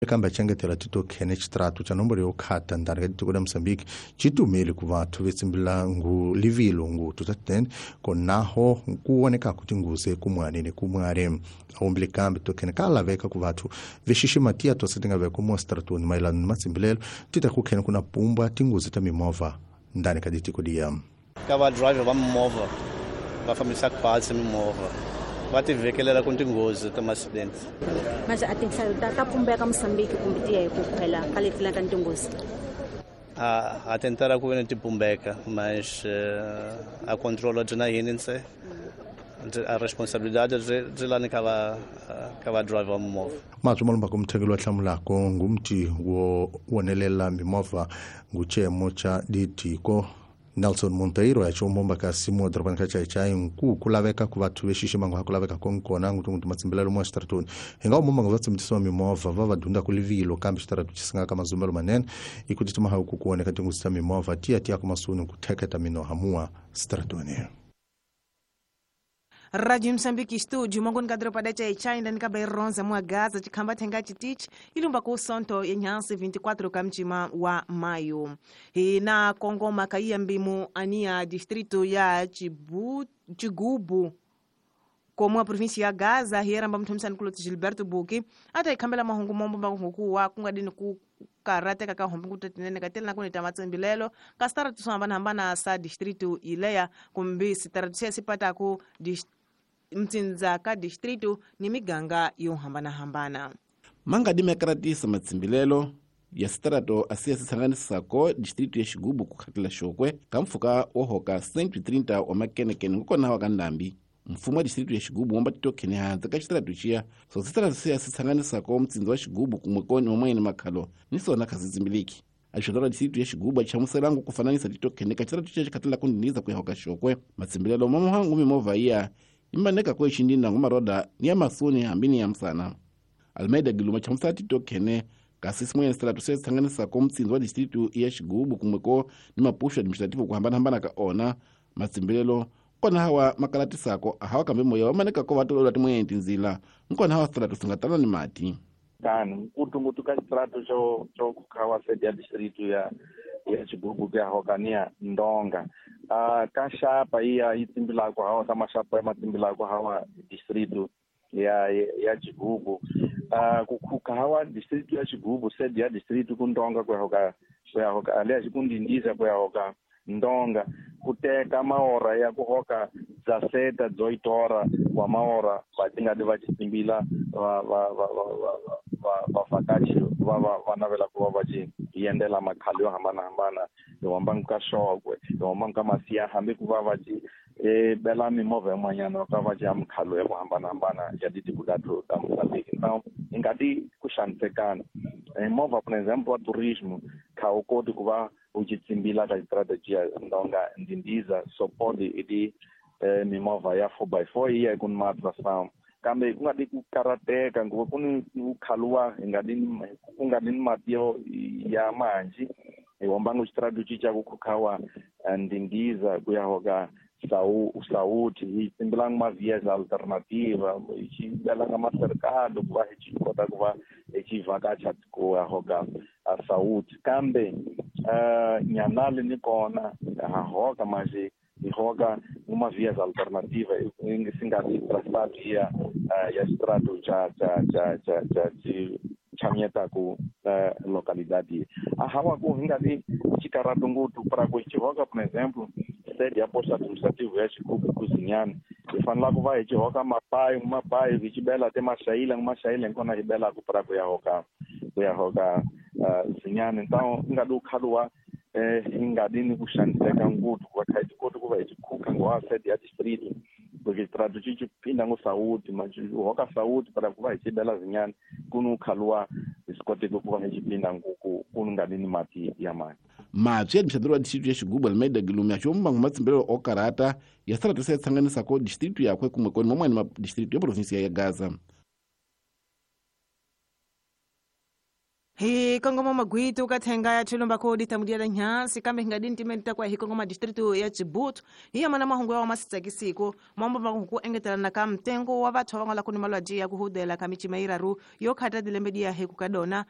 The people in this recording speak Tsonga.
Kambe achengetela titokhene xitrato xa nomboro yo khata ndani ka tiko la Moçambique citumile ku vathu vetsimbila ngu livilo ngutu ta 10 konaho kuonekaku tinguze kumwani ni kumwari awumbile kambe tokhene ka laveka ku vathu vexixima tiya tosa ti nga veka mo stratoni mayelana ni matsimbilelo ti ta ku khene kuna pumba tinguzi ta mimovha ndani ka ditiko liya. Ka va driver va mimovha va fambisaka pasi mimovha va ti vhekelela ku tinghozi ta accident. Mas a tinhlayo ta pumbeka Moçambique kumbe ti ya hi ku khwela ka leti la ka tinghozi? A tentara ku ve ni ti pumbeka, mas a controla byi na yini nse a responsabilidade byi lani ka va driver wa mimovha. Matswi malumbako muthekelo wa hlamulako ngumti wo wonelela mimovha nguchemo cha ditiko Nelson Monteiro ya chombomba ka simu dorobani ka Chaichai nku kulaveka ku vathu vexixima ngo hakulaveka konkona ngutu matsimbilelo mo xitaratoni hi nga umomba ngo vatsimtisiwa mimovha va va dunda ku livilo kambe xitaratu xi singaka mazumbelo manene i ku tituma ha ku kuoneka tinguzi ta mimovha tiya tiya ku masuni ku theketa minoha mua xitaratoni. Radio Moçambique Estúdio, mongoni kadropa da Chaichai, ndani kaba ironza mwa Gaza, chikhamba thenga chitichi, ilumba ku sonto yenyansi 24 kamchima wa maio. Hina Kongo makaia mbimu ania distrito ya Chigubu, como a província ya Gaza, hieramba mthumisani kuloti Gilberto Buki, ata ikhambela mahungu mombo makunguku wa kungadini ku karateka ka hombe kutetinene katela na kunita matsembilelo ka sitaratu swo hambanahambana sa distrito ileya kumbe sitaratu siya sipataku mtsinza ka distrito ni miganga yo hambanahambana. Mangadi mekaratisa matsimbilelo ya sitaratu asiya sitsanganisako distrito ya Xigubu ku khatela xokwe ka mpfhuka wo hoka 130 wa makenekene ngokona wa ka ndambi. Mfumo wa distrito ya Xigubu womba titokhene hansi ka xitaratu xiya so sitaratu siya sitsanganisako mutsinzi wa Xigubu kumwe koni wamwene makhalo ni sona kha sitsimbiliki. Axondora distrito ya Xigubu achamuselangu ku fananisa titokhene ka xitaratu xiya xikhatela ku ndiniza ku ya hoka xokwe. Matsimbilelo mamuhangu mimovha iya imaneka ko xindina ngumaroda ni ya masuni hambi ni ya msana. Almeida Giluma chamusela titokhene kasi simwene sitaratu siya sitsanganisako mutsinzi wa distrito ya Xigubu kumwe ko ni mapuxo administrativo ku hambanahambana ka ona. Matsimbilelo kona hawa makalatisako hawa kambe moya wa maneka ko vatolola timwene tindzila nkona hawa sitaratu singatala ni mati. Tano nkutungutu ka xitaratu xo khawa sede ya distrito ya Xigubu ku ya hokania Ndonga. Ka xapa iya yi tsimbilako hawa ta maxapa ya matsimbilako hawa distrito ya Xigubu. Ku khuka hawa distrito ya Xigubu sede ya distrito ku Ndonga ku ya hoka alias ku Ndindiza ku ya hoka Ndonga kuteka maora ya ku hoka zaseta dzoitora wa maora va tingadi va tsimbila va va va va va va vakachi va va va navela ku va va yendela makhalo yo hambanahambana yo hambana ka xokwe yo hambana ka masiya hambi ku va va bela mimovha yin'wanyana ka va ya mikhalo ya ku hambanahambana ya ditiko ta Moçambique. Então hi nga ti ku xanisekana movha por exemplo wa turismo kha u koti ku va u ci tsimbila ka strategy Ndonga Ndindiza so podi idi mimovha ya 4x4 iya ku matração kambe ku nga di ku karateka nguva ku ni ku khaluwa hi nga di ku nga di ni mati yo ya manji hi hombanga xitrategy xa ku khukhawa Ndindiza ku ya hoka Saúde hi tsimbilanga ma vias alternativa hi xi belanga maserikado ku va hi xi kota ku va hi xi vhakacha ku ya hoka Saúde kambe nyanali ni kona ha hoka manje hi hoka uma vias alternativa si nga ri traçado ya xitrato xa chamyetaku localidade a hawa ku hi nga ri xikarato ngopfu para ku xi hoka por exemplo sede ya posto administrativo ya Xigubu ku Zinyani hi fanela ku va hi xi hoka mapayi hi xi bela te maxayila nkona hi belaku para ku ya hoka Zinyani. Então hi nga di ku khaluwa hi nga di ni ku xaniseka ngopfu ku va kha hi ti koti ku va hi xi khuka ngo sede ya distrito porque xitrato xi phinda ngo Saúde mas hoka Saúde para ku va hi xi bela Zinyani ku ni khaluwa hi swi koteki ku va hi xi phinda ku nga di ni mati ya mani. Matswi ya administrador wa distrito ya Xigubu Almeida Gilumi axombangu matsimbilelo o karata ya sitaratu siya tsanganisako distrito yakwe kumwe koni mamwani ma distrito ya província ya Gaza. Hi kongoma magwitu ka thenga ya chilumba kodi tamudia nyansi kambe hinga dini timeni takwa hi kongoma distritu ya Chibutu hi yamana mahungu ya masitsakisiko mambo makungu engetelana ka mtengo wa vathu va nga la kuni malwadzi ya kuhudela ka michima iraru yo khata dilembe diya he kukadona.